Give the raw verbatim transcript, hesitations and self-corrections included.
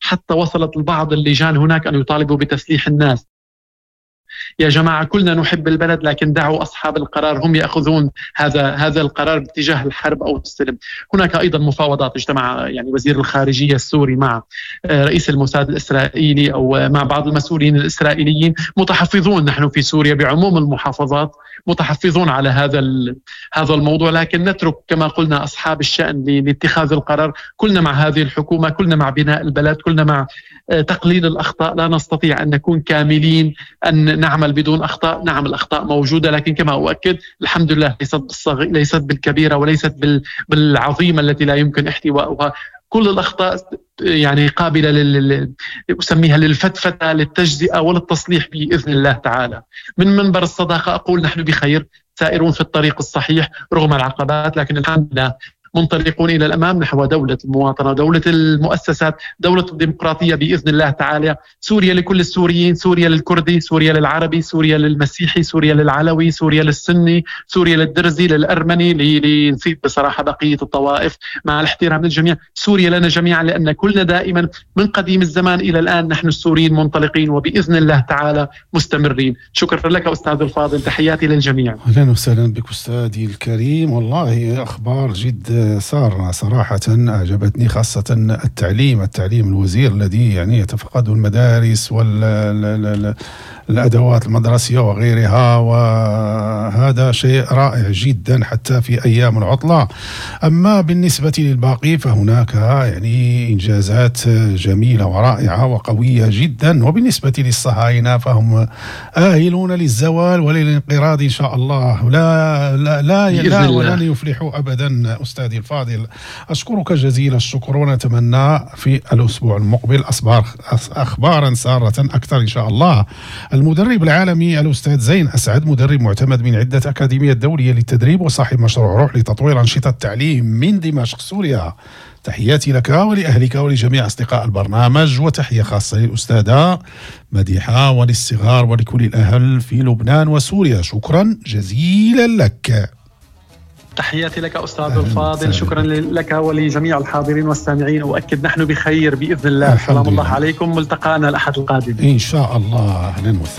حتى وصلت البعض اللجان هناك أن يطالبوا بتسليح الناس. يا جماعة كلنا نحب البلد، لكن دعوا أصحاب القرار هم يأخذون هذا هذا القرار باتجاه الحرب أو السلم. هناك أيضا مفاوضات، اجتمع يعني وزير الخارجية السوري مع رئيس الموساد الإسرائيلي أو مع بعض المسؤولين الإسرائيليين. متحفظون نحن في سوريا بعموم المحافظات، متحفظون على هذا هذا الموضوع، لكن نترك كما قلنا أصحاب الشأن لاتخاذ القرار. كلنا مع هذه الحكومة، كلنا مع بناء البلد، كلنا مع تقليل الأخطاء. لا نستطيع أن نكون كاملين، أن نعمل بدون أخطاء. نعم الأخطاء موجودة، لكن كما أؤكد الحمد لله ليست بالصغ... ليست بالكبيرة وليست بال... بالعظيمة التي لا يمكن احتوائها. كل الأخطاء يعني قابلة لل... أسميها للفتفتة، للتجزئة وللتصليح بإذن الله تعالى. من منبر الصداقة أقول نحن بخير، سائرون في الطريق الصحيح رغم العقبات، لكن الحمد لله منطلقون إلى الأمام نحو دولة المواطنة، دولة المؤسسات، دولة الديمقراطية بإذن الله تعالى. سوريا لكل السوريين، سوريا للكردي، سوريا للعربي، سوريا للمسيحي، سوريا للعلوي، سوريا للسني، سوريا للدرزي، للأرمني، لنسيت بصراحة بقية الطوائف، مع الاحترام للجميع. سوريا لنا جميعا، لأن كلنا دائما من قديم الزمان إلى الآن نحن السوريين منطلقين وبإذن الله تعالى مستمرين. شكرا لك أستاذ الفاضل، تحياتي للجميع. أهلا وسهلا بك أستاذي الكريم. والله أخبار جد سارة صراحة أعجبتني، خاصة التعليم التعليم الوزير الذي يعني يتفقد المدارس والأدوات المدرسية وغيرها، وهذا شيء رائع جدا حتى في أيام العطلة. أما بالنسبة للباقي فهناك يعني إنجازات جميلة ورائعة وقوية جدا. وبالنسبة للصهاينة فهم آهلون للزوال وللانقراض إن شاء الله، لا لا لا, لا ولن يفلحوا أبدا. أستاذي الفاضل أشكرك جزيل الشكر، ونتمنى في الأسبوع المقبل أخبارا سارة أكثر إن شاء الله. المدرب العالمي الأستاذ زين أسعد، مدرب معتمد من عدة أكاديميات دولية للتدريب وصاحب مشروع روح لتطوير أنشطة التعليم من دمشق سوريا. تحياتي لك ولأهلك ولجميع أصدقاء البرنامج، وتحية خاصة للأستاذة مديحة وللصغار ولكل الأهل في لبنان وسوريا. شكرا جزيلا لك. تحياتي لك أستاذ الفاضل، شكرا لك ولجميع الحاضرين والسامعين. وأكد نحن بخير بإذن الله. سلام الله عليكم، ملتقانا الأحد القادم إن شاء الله. أهلا وسهلا.